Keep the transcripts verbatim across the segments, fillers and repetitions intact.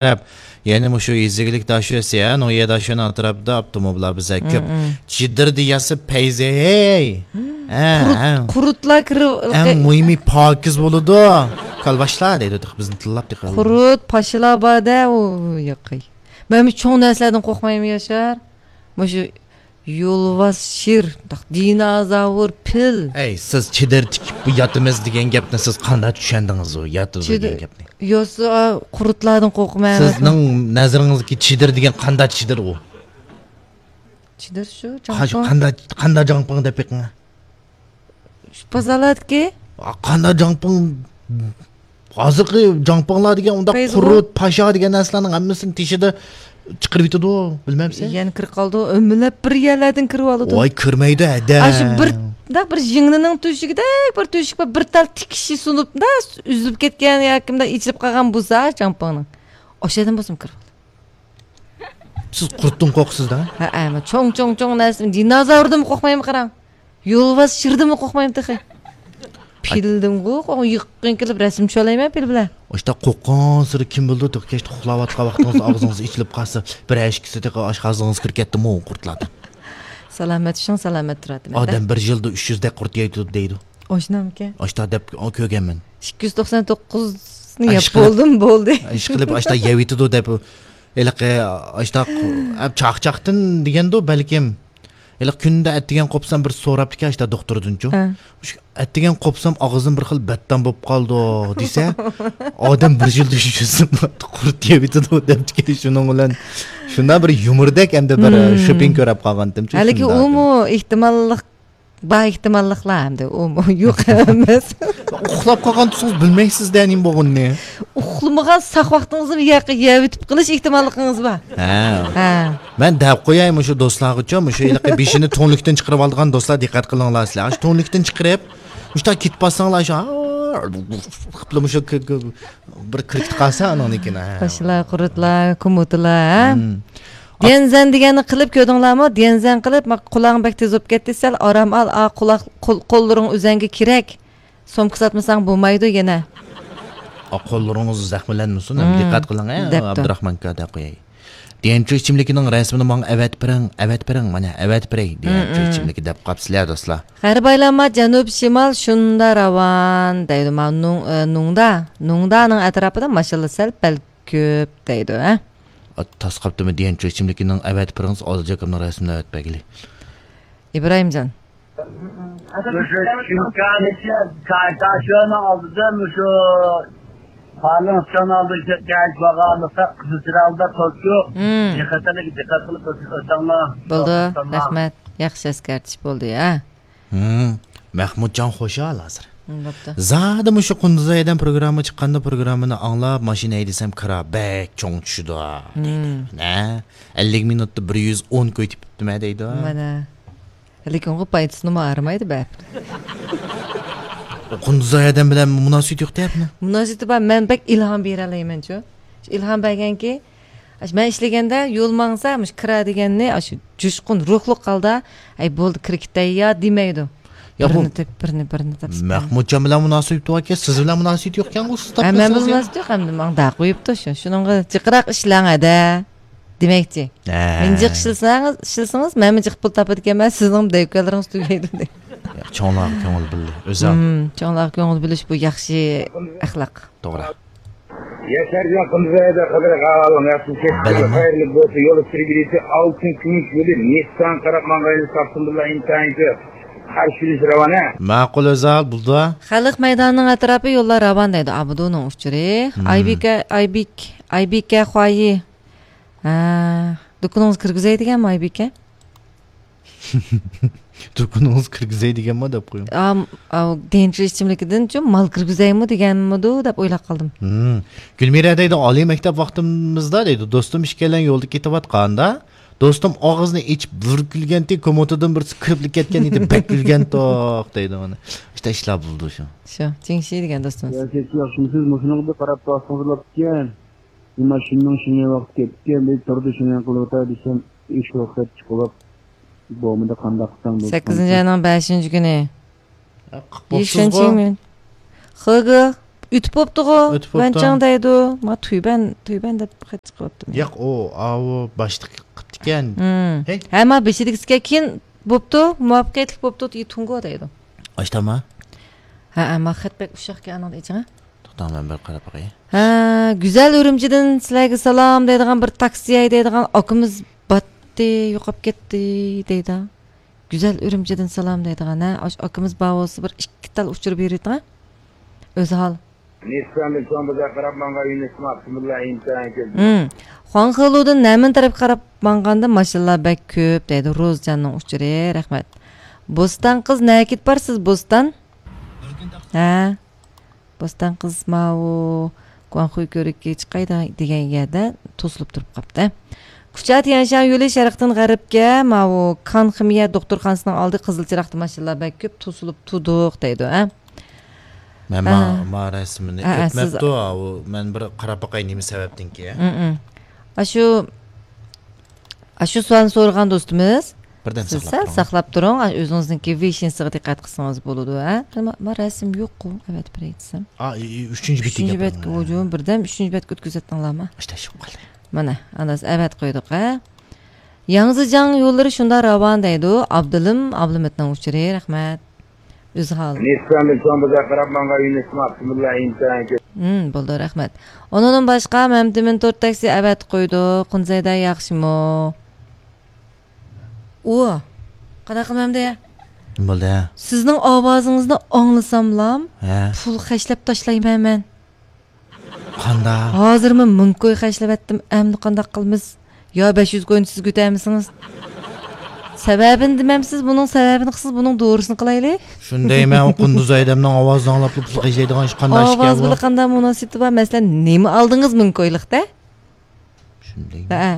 تەرەپ، يەنى مۇشۇ يېزا ئىگىلىك داشۆسى، ھە، نويە داشۆنىڭ ئەتراپىدا ئاپتوموبىللار بىزە كۆپ. چېدىر دېيەسى پەيزى، ھەي. ھە، ھە. قۇرتلار كىرىپ، ئەڭ مۇھىمى پاكىز بولىدۇ. كالۋاشلار دەيدۇ، تېخى بىزنى تىللاپ تېخى. قۇرت، پاشىلار بار-دە، ئۇ ياقى. مەن چوڭ نەرسىلەردىن قورقمايمەن، ياشار. مۇشۇ يولۋاس، شىر، دىنوزاۋر، پىل. ئەي، سىز چېدىر تىكىپ بۇ ياتىمىز دېگەن گەپنى سىز قانداق چۈشەندىڭىز ئۇ ياتىدۇ دېگەن گەپنى؟ يوقسا، قۇرتلاردىن قورقىمەن. سىزنىڭ نەزىرىڭىزدىكى چېدىر دېگەن قانداق چېدىر ئۇ؟ چېدىر شۇ، ھا، شۇ جاڭپىڭ. قانداق، قانداق جاڭپىڭ دەپ بېقىڭ. شۇ بازارلاردىكى؟ قانداق جاڭپىڭ؟ ھازىرقى جاڭپىڭلار دېگەن ئۇنداق قۇرۇت، پاشا دېگەن نەرسىلەرنىڭ ھەممىسىنى تېشىدا چىقىرىۋېتىدۇ، بىلمەمسىز؟ يەنە كىرىپ قالىدۇ، ئۆمىلەپ بىر يەرلەردىن كىرىۋالىدۇ. ۋاي، كىرمەيدۇ، ھەدە. ئاشۇ بىر، مۇنداق بىر يىڭنىنىڭ تۆشۈكىدەك بىر تۆشۈك بار، بىر تال تىكىشى سۇنۇپ، مۇنداق ئۈزۈلۈپ كەتكەن ياكى مۇنداق ئېچىلىپ قالغان بولسا جاڭپىڭنىڭ. ئاشۇ يەردىن بولسىمۇ كىرىۋالىدۇ. سىز قۇرتتىن قورقىسىز-دە؟ ھەئە، مەن چوڭ، چوڭ، چوڭ نەرسە، دىنوزاۋردىنمۇ قورقمايمەن، قاراڭ. يولۋاس شىردىنمۇ قورقمايمەن تېخى. پىلدىنغۇ، يېقىن كېلىپ رەسىم چۈشۈرەلەيمەن پىل بىلەن. ئاشتا قورققانسېرى كىم بىلىدۇ، تېخى كەچتە ئۇخلاۋاتقان ۋاقتىڭىزدا ئاغزىڭىز ئېچىلىپ قالسا، بىر ھەشكىسى تېخى ئاشۇ ئاغزىڭىزغا كىرىپ كەتتىمۇ قۇرتلاردىن. سالامەت چۈشۈڭ، سالامەت تۇراتىمەن. ئادەم بىر يىلدا ئۈچ يۈز دەك قۇرت يەيدۇ دەيدۇ. ئاشۇندامىكەن؟ ئاشتا دەپ كۆرگەنمەن. ئىككى يۈز توقسان توققۇزنى يەپ بولدۇم، بولدى. ئىشقىلىپ ئاشتا يەۋېتىدۇ دەپ، ھېلىقى ئاشتا چاقچاقتىن دېگەندۇ بەلكىم. ھېلىقى كۈندە ئەتىگەن قوپسام بىر سوراپتىكەن ئاشتا دوختۇردىنچۇ. ھە. مۇشۇ ئەتىگەن قوپسام ئاغزىم بىر خىل بەتتام بولۇپ قالدى دېسە، ئادەم بىر يىلدا شۇ قۇرت يەۋېتىدۇ دەپتىكەن. شۇنىڭ بىلەن شۇنداق بىر يۇمۇردەك ئەمدى بىر شوپىڭ كۆرۈپ قالغانتىمچۇ. ھېلىقى ئۇمۇ ئېھتىماللىق بار ئېھتىماللىقلار ئەمدى ئۇمۇ يوق ئەمەس. ئۇخلاپ قالغان تۇرسىڭىز بىلمەيسىز-دە نېمە بولغىنىنى. ئۇخلىمىغان ساق ۋاقتىڭىزدا يەۋېتىپ قېلىش ئېھتىماللىقىڭىز بار. ھە. ھە. مەن دەپ قوياي مۇشۇ دوستلارغىچۇ، مۇشۇ ھېلىقى بېشىنى تونلۇكتىن چىقىرىۋالىدىغان دوستلار دىققەت قىلىڭلار سىلەر. ئاشۇ تونلۇكتىن چىقىرىپ، مۇشۇنداق كېتىپ بارساڭلار، شۇ، قىپلا مۇشۇ بىر كىرىپ قالسا ئانىڭدىن كېيىن، ھە. باشلار، قۇرۇتلار، كۇمۇتىلار، ھە؟ ديەنزەن دېگەننى قىلىپ كۆردۈڭلارمۇ؟ ديەنزەن قىلىپ، ما، قۇلاقىڭ بەك تېز بولۇپ كەتتى، سەل ئارام ئال، ئا، قۇلاق، قول، قوللىرىڭ ئۆزەڭگە كېرەك. سومكا ساتمىساڭ بولمايدۇ يەنە. ئا، قوللىرىڭىز زەخىملەنمىسۇن، ھەم دىققەت قىلىڭ، ھە، دەپتۇ. ئابدۇراخمان ئاكا دەپ قوياي. ديەنچۇ ئىچىملىكىنىڭ رەسىمىنى ماڭا ئەۋەتىپ بېرىڭ، ئەۋەتىپ بېرىڭ، مانا ئەۋەتىپ بېرەي، ديەنچۇ ئىچىملىكى دەپ قاپسىلەر دوستلار. غەربىي ئايلانما جەنۇب شىمال شۇندا راۋان دەيدۇ. مانا نۇڭ-، ئە، نۇڭدا، نۇڭدانىڭ ئەتراپىدا ماشىنىلار سەل پەل كۆپ دەيدۇ، ھە؟ ئا، تاس قاپتىمۇ ديەنچۇ ئىچىملىكىنىڭ ئەۋەتىپ بېرىڭىز، ئادىل جاكامنىڭ رەسىمىنى ئەۋەتىپ بەرگىلى. ئىبراھىمجان. مۇشۇ شىنكان كارتاشونىڭ ئالدىدا مۇشۇ پالىڭ ئىشخانا ئالدىدا كەچ بارغانلىقتا قىزىل چىراغدا تۇرۇپ، دىققەتلىك، دىققەت قىلىپ ئۆتۈڭلار. بولدى، رەھمەت. ياخشى ئەسكەرتىش بولدى، ھە. مەھمۇتجان خۇشال ھازىر. بوپتۇ. زادى مۇشۇ قۇندۇزاي ھەدەم پروگرامما چىققاندا پروگراممىنى ئاڭلاپ، ماشىنا ھەيدىسەم كىرا بەك چوڭ چۈشىدۇ دەيدۇ. نە؟ ئەللىك مىنۇتتا بىر يۈز ئون كوي تېپىپتىمەن دەيدۇ. مانا. لېكىن ئۇ پايدىسىنىمۇ ئارىمايدۇ بەرىبىر. قۇندۇزاي ھەدەم بىلەن مۇناسىۋىتى يوق دەپمۇ؟ مۇناسىۋىتى بار، مەن بەك ئىلھام بېرەلەيمەنچۇ. شۇ ئىلھام بەرگەنكى، ئاشۇ مەن ئىشلىگەندە يول ماڭسا، مۇشۇ كىرا دېگەننى ئاشۇ جۇشقۇن روھلۇق ھالدا، ئەي بولدى، كىرا كېتەي يا دېمەيدۇ. يا بىرنى بۇ تېپ، بىرنى، بىرنى تېپ. مەھمۇتجان بىلەن مۇناسىۋىتى باركەن، سىز بىلەن مۇناسىۋىتى يوقكەن، ئۇ سىز ھە، مەن بىلەن تاپتىڭىز يا؟ مۇناسىۋىتى يوق، ئەمدى ماڭا دەق قويۇپتۇ شۇ. شۇنىڭغا جىقراق ئىشلەڭ ھەدە. دېمەكچى، ھە. مېنى جىق ئىشلىسىڭىز، ئىشلىسىڭىز، مەنمۇ جىق پۇل تاپىدىكەنمەن، سىزنىڭمۇ دەۋكەنلىرىڭىز تۈگەيدۇ دەيدۇ. ياق، چوڭلارغا كۆڭۈل بۆلدى. ئۆزى ھىم، چوڭلارغا كۆڭۈل بۆلۈش بۇ ياخشى ئەخلاق. توغرا. ياشارجان قىمزايدا قىلدىرىق ئاۋالىڭ ياخشى كەچتىڭىز، بىلىمەن. خەيرلىك بولسۇن. يول سۈرگۈلۈكى ئالتۇن كۈمۈش يولى نېسسان قاراپ ماڭغان يولى تاپسۇن بىللە ئىنتايىن كۆپ. قارشى ئېلىش راۋانە. ماقۇل ئۆزال، بولدى. خەلق مەيدانىنىڭ ئەتراپى يوللار راۋان دەيدۇ ئابدۇنىڭ ئۇچۇرى. مم. ئايبىكە، ئايبىك، ئايبىكە خۇايى. ھە، دۇكىنىڭىزغا كىرگۈزەي دېگەنمۇ ئايبىكە؟ دۇكىنىڭىزغا كىرگۈزەي دېگەنمۇ دەپ قويۇڭ. ئام، ئاۋ، دېنچۇ ئىچىملىكىدىنچۇ مال كىرگۈزەيمۇ دېگەنمىدۇ دەپ ئويلاپ قالدىم. ھىم. گۈلمىرە دەيدۇ، ئالىي مەكتەپ ۋاقتىمىزدا دەيدۇ، دوستۇم ئىككىيلەن يولدا كېتىۋاتقاندا، دوستۇم ئاغزىنى ئېچىپ بىر كۈلگەنتى، كوموتىدىن بىرسى كىرىپلا كەتكەن ئىدى، بەك كۈلگەنتۇق دەيدۇ مانا. ئىشتە ئىشلار بولىدۇ شۇ. شۇ، جىڭشى دېگەن دوستىمىز. يا، كەچ ياخشىمۇسىز؟ مۇشۇنىڭغا قاراپ تۇرسىڭىز بوپتىكەن. نېمە شۇنىڭ شۇنى ۋاقتى كەپتىكەن، بىر تۇردى شۇنى قىلىۋاتار دېسەم، ئىش ۋاقىت چىقىۋاپ بولمىدى، قانداق قىلساڭ بولسۇن. سەككىزىنچى ئاينىڭ بەشىنچى كۈنى. ھە، قىپ بوپسىزغۇ. يۈشەنچىڭمىن. خېگې، ئۆتۈپ بوپتۇغۇ، ئۆتۈپ بوپتۇ. ۋەنچاڭ دەيدۇ. ما تۈيبەن، تۈيبەن دەپ خەت چىقىپتۇ. ياق، ئۇ، ئاۋۇ باشلىق قىپتىكەن. ھە، ما بېشىدىكىسىكەن كېيىن بوپتۇ، مۇۋەپپەقىيەتلىك بوپتۇ، تۇڭگو دەيدۇ. ئاشتاما؟ ھە، ھە، ما خەت بەك ئۇششاقكەن ئانىڭدا ئېچىڭە. توختاڭ، مەن بىر قاراپ باقاي. ھە، گۈزەل ئۈرۈمچىدىن سىلەرگە سالام دەيدىغان بىر تاكسى ھەيدەيدىغان ئاكىمىز باتتى، يوقاپ كەتتى دەيدۇ. گۈزەل ئۈرۈمچىدىن سالام دەيدىغان، ھە، ئاشۇ ئاكىمىز بار بولسا بىر ئىككى تال ئۇچۇر بېرىۋېتىڭە. ئۆزى ھال. نىسساندىن چوڭ بازار قاراپ ماڭغان يۈنۈس ئابدۇمۇللا ئىمتىھان كۆزى. ھىم. خۇاڭخېلۇدىن نەمىن تەرەپكە قاراپ ماڭغاندا ماشىنىلار بەك كۆپ دەيدۇ. روزجاننىڭ ئۇچۇرى، رەھمەت. بوستان قىز نەگە كېتىپ بارسىز، بوستان؟ ھە. بوستان قىز ماۋۇ گۇاڭخۇي كۆۋرۈكى چىقاي دېگەن يەردە توسۇلۇپ تۇرۇپ قاپتۇ. كۇچا تيەنشان يولى شەرقتىن غەربكە، ماۋۇ كان خىمىيە دوختۇرخانىسىنىڭ ئالدى قىزىل چىراغدا ماشىنىلار بەك كۆپ، توسۇلۇپ تۇردۇق دەيدۇ، ھە؟ مەن ما، ھە. ما رەسىمنى ھە، ھە، سىز ئۆتمەپتۇ، ئاۋۇ، مەن بىر قاراپ باقاي نېمە سەۋەبتىنكى. ھىم، ھىم. ئاشۇ، ئاشۇ سوئالنى سورىغان دوستىمىز، بىردەم سىز ساقلاپ سەل تۇرۇڭ. ساقلاپ تۇرۇڭ، ئا، ئۆزىڭىزنىڭكى ۋېيشىنسىغا دىققەت قىلسىڭىز بولىدۇ، ھە؟ ما، ما رەسىم يوققۇ، ئەۋەتىپ بېرەي دېسەم. ئا، ئى، ئى، ئۈچىنچى بېتىگە ئۈچىنچى بەتكە، ھوجۇم، بىردەم ئۈچىنچى بەتكە ئۆتكۈزۈۋەتتىڭلارمۇ؟ ئىشتە شۇ قالدى. مانا، ئانداز ئەۋەتىپ قويدۇق، ھە؟ ياڭزىجاڭ يوللىرى شۇنداق راۋان دەيدۇ. ئابدۇلىم ئابلىمىتنىڭ ئۇچۇرى، رەھمەت. ئۆزى ھال. نىسساندىن چوڭ بازار قاراپ ماڭغان يۈنۈس ئابدۇمۇللا ئىمتىھان كۆ- ھىم، بولدى، رەھمەت. ئۇنىڭدىن باشقا، مەمتىمىن تورت تاكسى ئەۋەتىپ قويدۇق. قۇنزەيدە ياخشىمۇ؟ ئۇ، قانداق قىلمامدى؟ نېمە بولدى؟ سىزنىڭ ئاۋازىڭىزنى ئاڭلىساملام، ھە. پۇل خەجلەپ تاشلايمەن مەن. قانداق؟ ھازىرمۇ مىڭ كوي خەجلىۋەتتىم، ئەمدى قانداق قىلىمىز؟ يا بەش يۈز كوينى سىز كۆتەرمىسىڭىز؟ سەۋەبىنى دېمەمسىز، بۇنىڭ سەۋەبىنى قىلسىز، بۇنىڭ دورىسىنى قىلايلى. شۇندايمەن، ئۇ قۇندۇز ئادەمنىڭ ئاۋازىنى ئاڭلاپلا پۇل خەجلەيدىغان ئىش قانداق ئىشكەن بۇ؟ ئاۋاز بىلەن قانداق مۇناسىۋىتى بار؟ مەسىلەن، نېمە ئالدىڭىز مىڭ كويلۇقتا؟ شۇندايمۇ. ھە.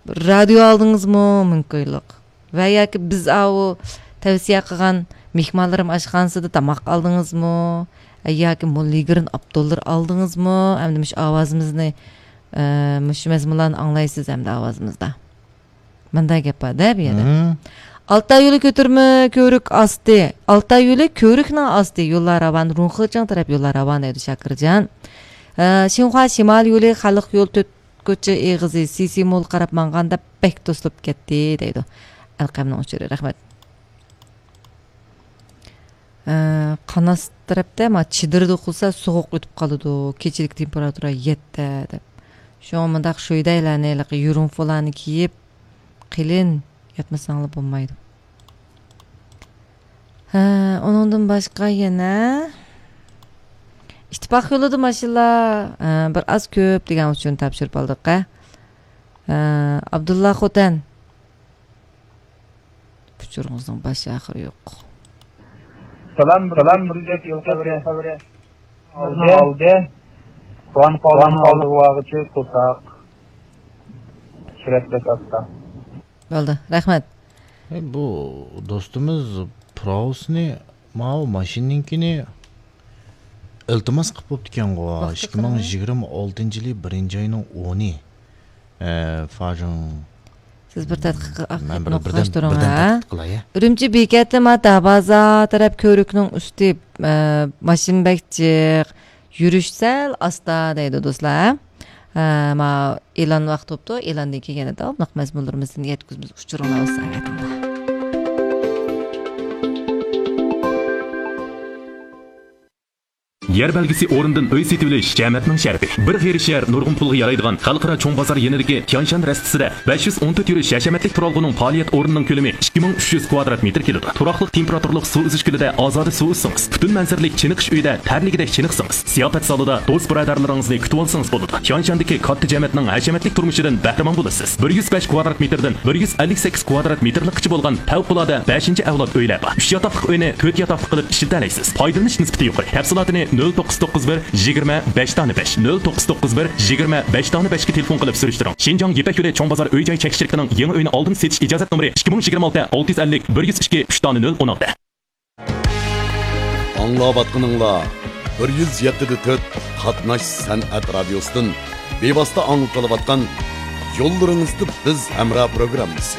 رادىيو ئالدىڭىزمۇ مىڭ كويلۇق؟ ۋە ياكى بىز ئاۋۇ تەۋسىيە قىلغان مېھمانلىرىم ئاشخانىسىدا تاماق ئالدىڭىزمۇ؟ ياكى موللىگرىن ئاپتوللىرى ئالدىڭىزمۇ؟ ئەمدى مۇشۇ ئاۋازىمىزنى، ئە، مۇشۇ مەزمۇنلارنى ئاڭلايسىز ئەمدى ئاۋازىمىزدا. مۇنداق گەپ بار-دە بۇ يەردە. مم. ئالتاي يولى كۆتۈرمە كۆۋرۈك ئاستى. ئالتاي يولى كۆۋرۈكنىڭ ئاستى. يوللار راۋان، رۇڭخېجېڭ تەرەپ يوللار راۋان دەيدۇ شاكىرجان. ئە، شىنخۇا شىمال يولى خەلق يول تۆت كوچا ئېغىزى سىسى مول قاراپ ماڭغاندا بەك توسۇلۇپ كەتتى دەيدۇ. ئەلقەمنىڭ ئۇچۇرى، رەھمەت. ئە، قاناس تەرەپتە ما چېدىردا قىلسا سوغۇق ئۆتۈپ قالىدۇ، كېچىلىك تېمپېراتۇرا يەتتە دەپ. شۇڭا مۇنداق شۇيدايلارنى، ھېلىقى يۇرۇڭفۇلارنى كىيىپ، قېلىن ياتمىساڭلار بولمايدۇ. ھە، ئۇنىڭدىن باشقا يەنە ئىتتىپاق يولىدا ماشىنىلار، ھە، بىر ئاز كۆپ دېگەن ئۇچۇرنى تاپشۇرۇپ ئالدۇق، ھە. ھە، ئابدۇللا خوتەن. ئۇچۇرىڭىزنىڭ باشى ئاخىرى يوق. سالام، سالام، بىر يول خەۋىرى. ئالدى. ئالدى. قۇرئان قالىنىڭ ئالدىغا بارغۇچە قورساق. سۈرئەت بەك ئاستا. بولدى، رەھمەت. ئەي، بۇ دوستىمىز پراۋوسنى، ماۋۇ ماشىنىنىڭكىنى ئىلتىماس قىلىپ بوپتىكەنغۇ. ۋاقتى قىلىڭ. ئىككى مىڭ يىگىرمە ئالتىنچى يىلى بىرىنچى ئاينىڭ ئونى. ئە، فاجىڭ. سىز بىر تەتقىق، مەن بىر، نۇقتىلاش بىردەم، تۇرۇڭ، بىردەم ھە؟ تەتقىق قىلاي، ھە؟ ئۈرۈمچى بېكەتتە ما دەرۋازا تەرەپ كۆۋرۈكنىڭ ئۈستى، ئە، ماشىنا بەك جىق، يۈرۈش سەل ئاستا دەيدۇ دوستلار، ھە؟ ئە، ما ئېلان ۋاقتى بوپتۇ، ئېلاندىن كېيىن يەنە داۋاملىق مەزمۇنلىرىمىزدىن يەتكۈزىمىز ئۇچۇرۇڭلار بولسا ئەۋەتىڭلار. يەر بەلگىسى ئورنىدىن ئۆي سېتىۋېلىش جەمەتنىڭ شەرىپى. بىر غېرىب شەھەر نۇرغۇن پۇلغا يارايدىغان خەلقئارا چوڭ بازار يېنىدىكى تيانشان رەستىسىدە بەش يۈز ئون تۆت يۈرۈش ھەشەمەتلىك تۇرالغۇنىڭ پائالىيەت ئورنىنىڭ كۆلىمى ئىككى مىڭ ئۈچ يۈز كۋادرات مېتىر كېلىدۇ. تۇراقلىق تېمپېراتۇرلۇق سۇ ئۈزۈش كۆلىدە ئازادە سۇ ئۈزسىڭىز، پۈتۈن مەنزىرىلىك چېنىقىش ئۆيىدە تەرلىگۈدەك چېنىقسىڭىز، زىياپەت زالىدا دوست بۇرادەرلىرىڭىزنى كۈتۈۋالسىڭىز بولىدۇ. تيانشاندىكى كاتتا جەمەتنىڭ ھەشەمەتلىك تۇرمۇشىدىن بەھرىمەن بولىسىز. بىر يۈز بەش كۋادرات مېتىردىن بىر يۈز ئەللىك سەككىز كۋادرات مېتىرلىققىچە بولغان پەۋقۇلئاددە بەشىنچى ئەۋلاد ئۆيلەر بار. ئۈچ ياتاقلىق ئۆينى تۆت ياتاقلىق قىلىپ ئىشلىتەلەيسىز. پايدىلىنىش نىسبىتى يۇقىرى. تەپسىلاتىنى نۆل توققۇز توققۇز بىر يىگىرمە بەش دانە بەش، نۆل توققۇز توققۇز بىر يىگىرمە بەش دانە بەشكە تېلېفون قىلىپ سۈرۈشتۈرۈڭ. شىنجاڭ يىپەك يولى چوڭ بازار ئۆي جاي چەكلىك شىركىتىنىڭ يېڭى ئۆينى ئالدىن سېتىش ئىجازەت نومۇرى ئىككى مىڭ يىگىرمە ئالتە ئالتە يۈز ئەللىك بىر يۈز ئىككى ئۈچ دانە نۆل ئون ئالتە. ئاڭلاۋاتقىنىڭلار بىر يۈز يەتتە دە تۆت قاتناش سەنئەت رادىيوسىدىن بىۋاسىتە ئاڭلىتىلىۋاتقان يوللىرىڭىزدا بىز ھەمراھ پروگراممىسى.